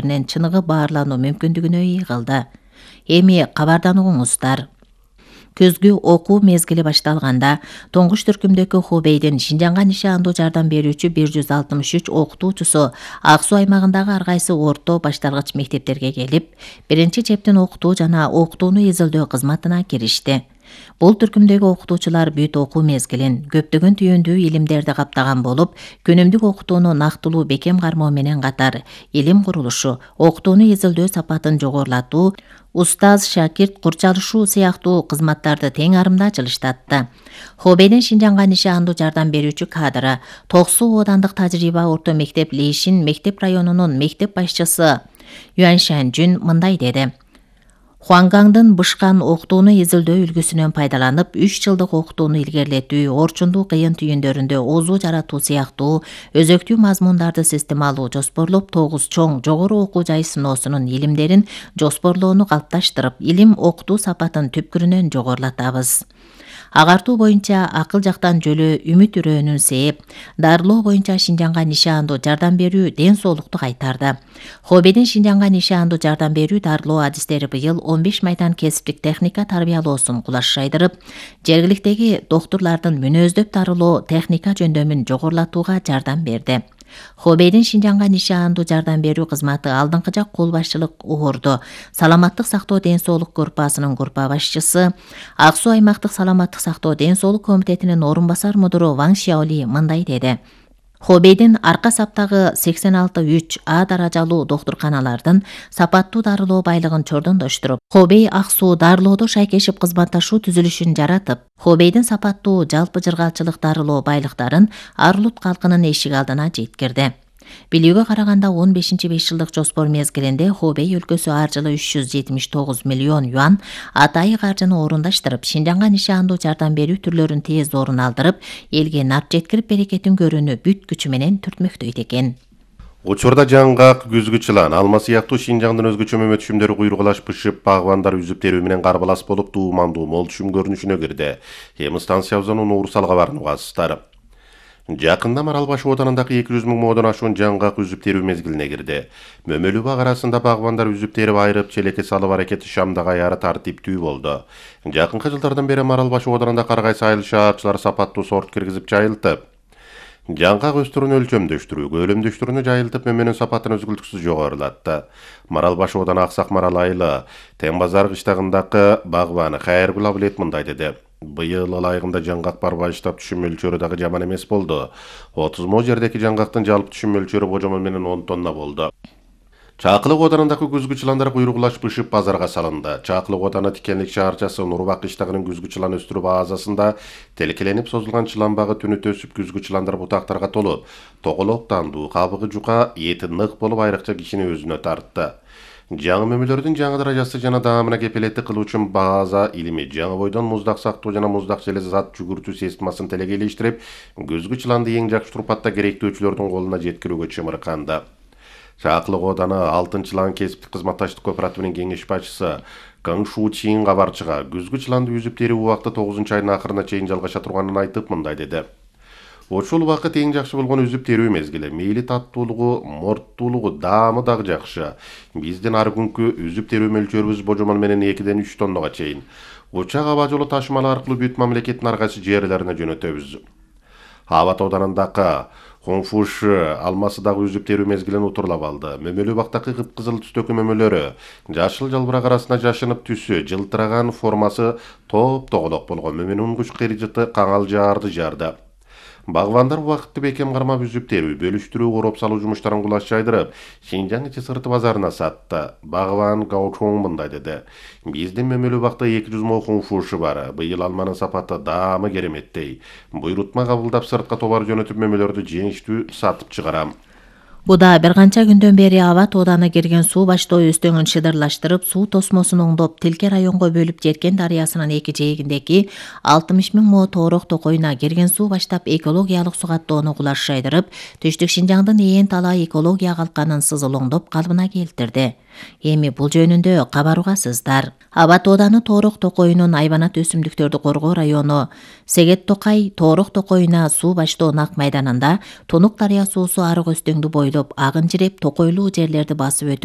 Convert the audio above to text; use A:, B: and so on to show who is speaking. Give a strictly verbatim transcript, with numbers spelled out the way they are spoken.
A: чыныгы баарлануу мүмкүндүгүнө ээ кылды. Эми кабарданууңуздар. Көзгү окуу мезгили башталганда туңгуч түркүмдөгү Хубейдин Шинжаңга нишандуу жардам берүүчү бир жүз алтымыш үч окутуучусу Ак Суу аймагындагы ар кайсы орто башталгыч мектептерге келип, биринчи чептин окутуу жана окутууну изилдөө кызматына киришти. Бул түркүмдөгү окутуучулар бүт окуу мезгилин көптөгөн түйүндүү илимдерди каптаган болуп, күнүмдүк окутууну нактылуу бекем кармоо менен катар илим курулушу, окутууну изилдөө сапатын жогорулатуу, устаз-шакирт курчалышуу сыяктуу кызматтарды тең арымда жылыштатты. Хубейдин Шинжаңга нишандуу жардам берүүчү кадры Ток Суу оодандык тажрыйба орто мектеп Лейшин мектеп районунун мектеп башчысы Юань Шанжүн мындай деди. Хуангаңдын бышкан окутууну изилдөө үлгүсүнөн пайдаланып, үч жылдык окутууну илгерилетүү, орчундуу кыйын түйүндөрүндө озуу жаратуу сыяктуу өзөктүү мазмундарды системалуу жоспорлоп, тогуз чоң жогору окуу жай сыноосунун илимдерин жоспорлоону калыпташтырып, илим окутуу сапатын түпкүрүнөн жогорулатабыз. Агартуу боюнча акыл жактан жөлөө үмүт үрөөнүн сээп, дарылоо боюнча Шинжаңга нишандуу жардам берүү ден соолукту кайтарды. Хубейдин Шинжаңга нишандуу жардам берүү дарылоо адистери быйыл он беш майдан кесиптик техника тарбиялоосун кулаш жайдырып, жергиликтеги доктурлардын мүнөздөп дарылоо техника жөндөмүн жогорулатууга жардам берди. Хубейдин Шинжаңга нишандуу жардам берүү кызматы алдыңкы жак кол башчылык орду саламаттык сактоо ден соолук группасынын группа башчысы, Ак Суу аймактык саламаттык сактоо ден соолук комитетинин орун басар мудуру Ван Шяоли мындай деди. Хубейдин арка саптагы сексен алты үч А даражалуу доктурканалардын сапаттуу дарылоо байлыгын чордондоштуруп, Хубей Ак Суу дарылоодо шайкешип кызматташуу түзүлүшүн жаратып, Хубейдин сапаттуу жалпы жыргалчылык дарылоо байлыктарын ар улут калкынын эшик алдына жеткирди. Билүүгө караганда он бешинчи беш жылдык жоспор мезгилинде Хубей өлкөсү ар жылы үч жүз жетимиш тогуз миллион юан атайы каржыны орундаштырып, Шинжаңга нишандуу жардам берүү түрлөрүн тез орун алдырып, элге нарт жеткирип берекетин көрүүнү бүт күчү менен түртмөктөйт экен.
B: Учурда жаңгак, күзгү чылан, алма сыяктуу Шинжаңдын өзгөчө мөмө түшүмдөрү куйругулаш бышып, багбандар үзүп терүү менен карбалас болуп, туумандуу мол түшүм көрүнүшүнө кирди. Эми станциябыздын Уурсалга барууңуздар. Жакында Марал Баш оодарындагы эки жүз миң модон ашуун жаңгак үзүп терүү мезгилине кирди. Мөмөлүү бак арасында багбандар үзүп терип айрып, челекке салып аракети шамдагы аяры тартиптүү болду. Жакынкы жылдардан бери Марал Баш оодарында ар кайсы айыл шаарчылар сапаттуу сорт киргизип жайылтып, жаңгак өстүрүүнү өлчөмдөштүрүү, көлөмдөштүрүүнү жайылтып, мөмөнүн сапатын үзгүлтүксүз жогорулатты. Марал Баш ооданы Аксак Марал айылы Тең базар кыштагындагы багбаны Хайыргүл Абылет мындай деди. Быйыл ылайыгында жаңгак барбай иштап түшүм мөлчөрү дагы жаман эмес болду. отуз мо жердеги жаңгактын жалпы түшүм мөлчөрү божомол менен он тонна болду. Чакылык оодарындагы күзгү чыландар куйругулаш бышып базарга салынды. Чакылык ооданы Тикенлик шаарчасы Нурбак кыштагынын күзгү чылан өстүрүү базасында телкеленип созулган чылан багы түнү өсүп, күзгү чыландар бутактарга толуп, тоголоктандуу, кабыгы жука, эти нык болуп, айрыкча кишини өзүнө тартты. Жаңы мөмөлөрдүн жаңы даражасы жана даамына кепилеттик кылуучу база илими жаңы бойдон муздак сактоо жана муздак желез зат жүгүртүү системасын телегейлештирип, күзгү чыланды эң жакшы турпатта керектөөчүлөрдүн колуна жеткирүүгө чымырканды. Чакылык ооданы Алтын чылан кесиптик кызматташтык кооперативинин кеңеш башчысы Кың Шу Чин кабарчыга күзгү чыланды үзүп терүү убакыты тогузунчу айдын акырына чейин жалгаша турганын айтып мындай деди. Ошол убакыт эң жакшы болгон үзүп терүү мезгили. Мейли таттуулугу, морттуулугу, даамы дагы жакшы. Биздин ар күнкү үзүп терүү мөлчөрүбүз божомол менен экиден үч тоннага чейин. Учак аба жолу ташымалы аркылуу бүт мамлекеттин ар кайсы жерлерине жөнөтөбүз. Абат оодарындагы Хонфуш алмасы дагы үзүп терүү мезгилин утурлап алды. Мөмөлүү бактагы кыпкызыл түстөгү мөмөлөрү жашыл жалбырак арасында жашынып, түсү жылтыраган, формасы топ-тоголок болгон мөмөнүн куч кыржыты каңал жаарды жарды. Багбандар убакытты бекем кармап үзүп терүү, бөлүштүрүү, короп салуу жумуштарын кулаш жайдырып, Шинжаң ичи сырты базарына сатты. Багбан Гаучоң мындай деди. Биздин мөмөлүү бакта эки жүз мо хунфушу бар. Быйыл алманын сапаты даамы кереметтей. Буйрутма кабылдап сыртка товар жөнөтүп мөмөлөрдү жеңиштүү сатып чыгарам.
A: Буда бир канча күндөн бери Абат ооданы кирген суу баштоо өстөңүн шыдырлаштырып, суу тосмосун оңдоп, Тилке районго бөлүп Жеркен дарыясынын эки жээгиндеги алтымыш миң мо тоорок токойуна кирген суу баштап экологиялык сугаттоону кулаш жайдырып, Түштүк Шинжаңдын ээн талай экология калканын сызылоңдоп калыбына келтирди. Эми бул жөнүндө кабарыгасыздар. Абат ооданы Тоорок токойунун айбанат өсүмдүктөрдү коргоо району Сегет Токай Тоорок токойуна суу баштоо нак майданында Тунук дарыя суусу арык өстөңдү бойлоп агын жиреп, токойлуу жерлерди басып өтүп,